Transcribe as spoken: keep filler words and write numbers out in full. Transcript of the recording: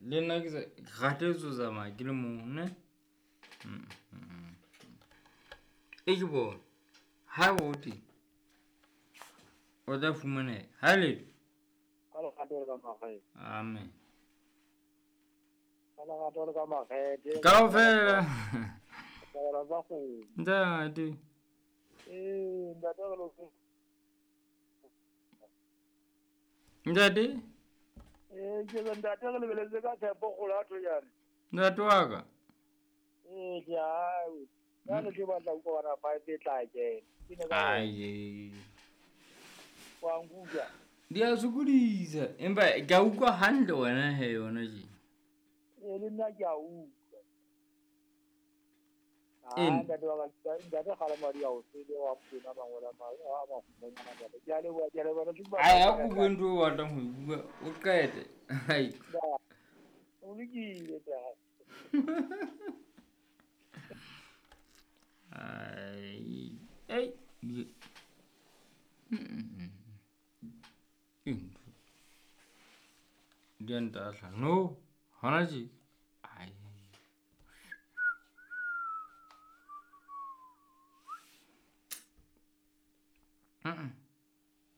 Le nna ke sa ke kgathetse ho tsamaya ke le mong ne. Mm, mm, mm. E ke bone ha o teng o tla fumaneha ha letho. Ka lerato le ka makgethe. Amen. Ka lerato le ka makgethe. Kaofela. Tabela tsa kgomo. Ntate. Ee, ntate re lo- Ntate. Ee, ke re ntate re lebeletse ka tshepo kgolo ya Thojane. Ntate wa ka. Ee, ke a jwale ke batla ho utlwa bona five e tla kena. Ke ne ka Ai. wa nkutlwa. Di a sokodisa empa ke a utlwa hantle wena he yona tje. Ee, le nna ke a utlwa. Ee. Ah, ntate wa ka, ntate kgalema di a o tsebe wa Mokwena mangolo a ma- a makgutshwanyane ntate. Ke a leboha, ke a leboha. Ke batla- Ai, a ko bue ntho eo o batlang ho e bua o qete. Ai. Ya, o lokile ntate. Ai. Ei. Di- Mm. Eng? Di a ntahla. No, hona tje.